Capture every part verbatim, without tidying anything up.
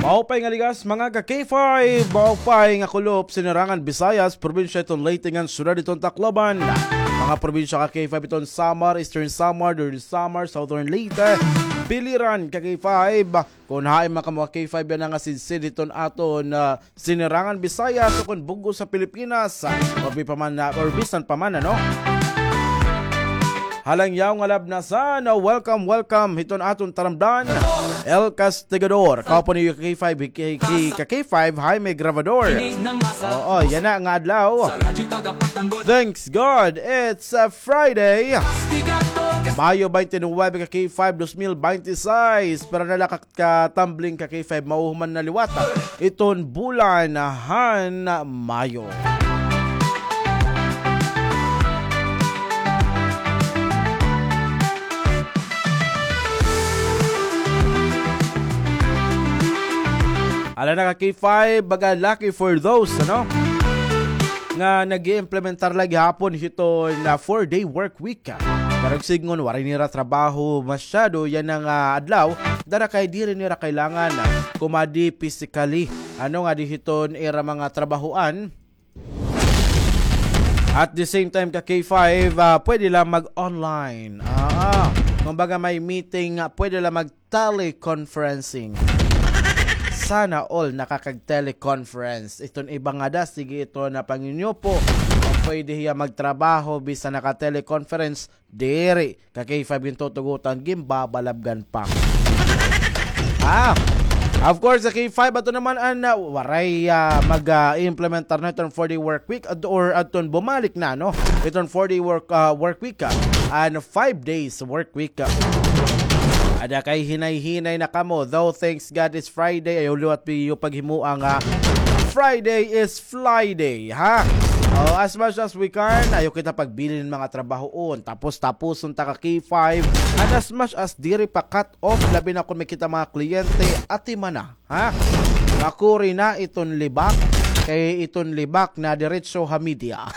Maupay nga ligas, mga ka K five, maupay nga kulop, Sinirangan Visayas, probinsya iton Leyte ngan syudad iton Tacloban. Mga probinsya ka K five iton Samar, Eastern Samar, Northern Samar, Southern Leyte, Biliran ka K five. Kon hain man kamo ka K five yana nga sidsid hiton aton, ah, Sinirangan Visayas o kon bug-os ha Pilipinas, ah, or bi pa man, ah, or bisan pa man, ano? Halangyaw nga labnasan, ah, welcome, welcome hiton aton taramdan, El Castigador. Kaupod niyo ka K five, hi-, hi-, hi-, ka K five, Jaime Grabador. Oo, yana nga adlaw. Thanks God, it's a Friday. Mayo twenty-nine ka K five, dos mil binte y seis. Pero nalakat ka tumbling ka K five, mauhuman na liwat iton bulan han Mayo. Ala na ka K five, baga lucky for those, ano? Nga nag-iimplementar la gihapon hiton four-day work week. Pero sidngon, waray nira trabaho masyado yana nga adlaw. Dara kay diri nira kailangan, ah, kumadi physically. Ano nga di hiton ira mga trabahoan. At the same time, ka K five, ah, pwede la mag-online. Ah, kumbaga may meeting, ah, pwede la mag-teleconferencing. Sana all nakakag-teleconference. Iton iba ngada, sige iton panginyupo. Pwede hiya magtrabaho, bisan naka-teleconference, diri. Ka K five gintutugutan, ginbabalabgan pa. Ah, of course, sa K five, ato naman an, ah, waray, ah, mag, ah, implementar na iton four-day work week at, or aton bumalik na, no? Iton four-day work, ah, work week, ah, and five days work week, ah. Ada kay hinay-hinay na kamo, though thanks God it's Friday, ayaw liwat pa iyo paghimoa nga Friday is fly day, ha? Oh, as much as we can, ayaw kita pagbilin hin mga trabahoon. Tapos, tapuson ta ka K five. And as much as diri pa cut off, labi na kon may kita mga kliyente, atimana, ha? Makuri na iton libak, kay iton libak na diretso ha media.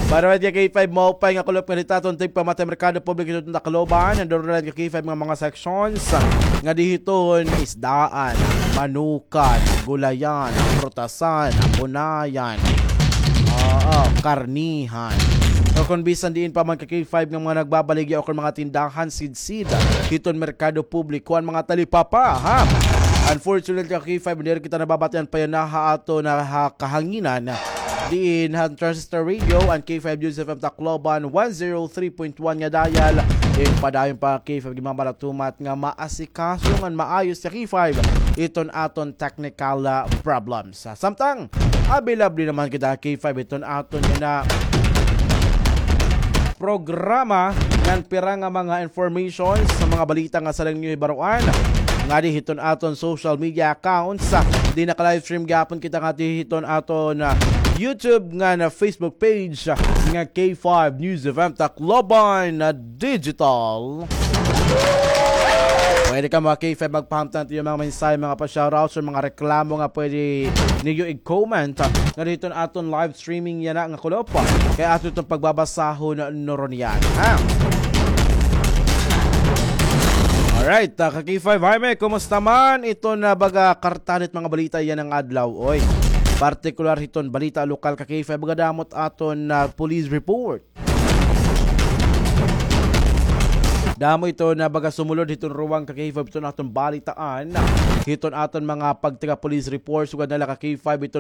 Para ka K five, maupay nga kulop nga ditaton tigpamatay merkado publiko iton Tacloban, nandurulan ka K five nga mga sections nga di hiton isdaan, manukan, gulayan, prutasan, unayan, oo, karnihan. O kon bisan diin pa man ka K five nga mga nagbabaligya o kon mga tindahan, sidsid hiton merkado publiko an mga talipapa, ha? Unfortunately, ka K five, diri kita nababatian pa yana ha aton, ah, ha kahanginan. Diin han Transistor Radio, an K five News F M Tacloban, one zero three point one nga dial. Ginpadayon pa K five ginmamalatumat nga maasikaso ngan maayos ka K five iton aton technical, ah, problems. Sa samtang, available naman kita K five iton aton yana programa ngan pira nga mga information sa mga balita nga sadang niyo hibaroan ngadi hiton aton social media accounts. Di naka-livestream gihapon kita ngadi hiton aton, ah, YouTube ngan Facebook page nga K five News F M Tacloban, ah, Digital. Pwede kamo ka K five magpahamtang hit iyo mga mensahe, mga pa-shoutouts, or mga reklamo nga pwede niyo i-comment, ah, ngadi hiton aton live streaming yana nga kulop. Kay aton iton pagbabasahon nuron yana, ha? Alright, ah, ka K five Jaime, kumusta man iton, ah, baga kartan hit mga balita yana nga adlaw, oy? Partikular hiton balita lokal ka K five, baga damo it aton, ah, police report. Damo iton, ah, baga sumulod hiton ruwang ka K five iton aton balitaan. Hiton aton mga pagtaga police report, sugad na la ka K five iton